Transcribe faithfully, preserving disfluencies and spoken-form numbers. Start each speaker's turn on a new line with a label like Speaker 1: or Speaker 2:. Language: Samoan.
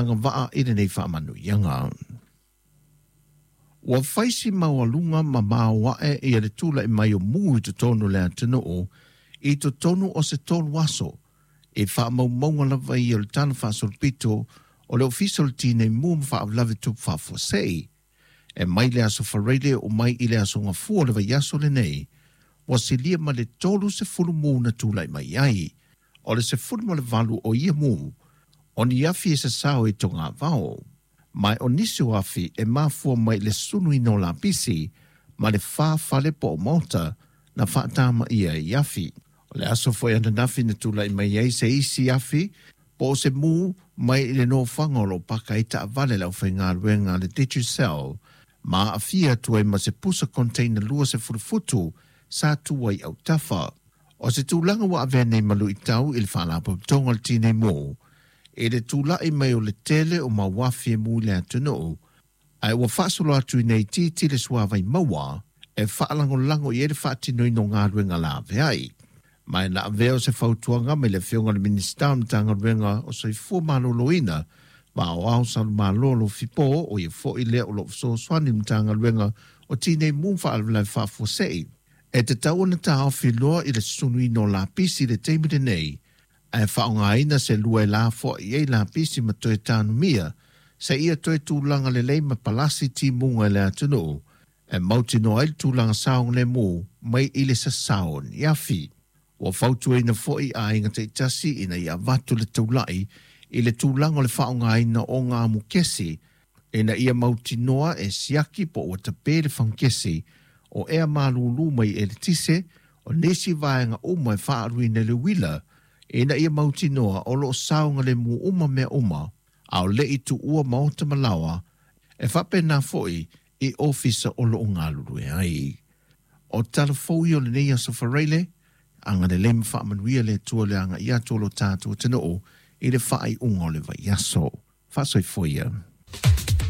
Speaker 1: Agavaa i lenei faamanuiaga. Ua faisi maualuga ma maoae ia le tula'i mai o mu i totonu o le atunuu i totonu o se tolu aso e faamaumauga lava ia o le tala faasolopito o le Ofisa o le Tinei Mu ma Faalavelave Tupu Faafuasei. E mai le aso Faraile o mai i le aso Gafua o le vaiaso lenei, ua silia ma le tolu sefulu mu na tula'i mai ai. O le sefulu ma le valu o ia mu, o ni afi e sasao i togavao. Ma o nisi o afi e mafua mai le sunuina o lapisi ma le fa fale po o maota na faatamaia i afi. O le aso foi ananafi na tula'i mai ai se isi afi po o se mu mai i le nofoaga o lo o paka ai taavale le aufaigaluega a le Digicel ma aafia atu ai ma se pusa container lua sefulu futu sa tu ai autafa. O se tulaga ua avea nei ma luitau i le Faalapotopotoga o le Tinei Mu i le tula'i mai o le tele o mau afi e mu i le atunuu, ae ua faasolo atu ina itiiti le suavai maua e faalagolago i ai le faatinoina o galuega laveai. Ma e na avea o se fautuaga mai le afioga i le Minisita o le Matagaluega o Soifua Maloloina ma Aoao Salumalolo Alofipo, o ia foi lea o lo o fesoasoani i le Matagaluega o Tinei Mu ma Faalavelave Faafuasei, e tatau ona taofi loa i le susunuina o lapisi i le taimi lenei, ae faaaogaina se lua e lafoai ai lapisi ma toe tanumia seia toe tulaga lelei ma palasi timuga i le atunuu e mautinoa ai le tulaga saogalemu mai i le sasao o ni afi. Ua fautuaina foi aiga taitasi ina ia avatu le taula'i i le tulaga o le faaaogaina o gamukesi ina ia mautinoa e siaki po ua tape le fagukesi o ea malūlū mai eletise o nisi vaega uma e faaaluina i le uila ina ia mautinoa o lo o saogalemu uma mea uma a o le i tuua maota ma laoa e faapena foi i ofisa o lo o galulue ai. O tala fou ia o lenei aso Faraile, agalelei ma faamanuia le Atua i le aga'i atu o lo tatou atunuu i le faaiuga o le vaiaso. Faasoifua ia.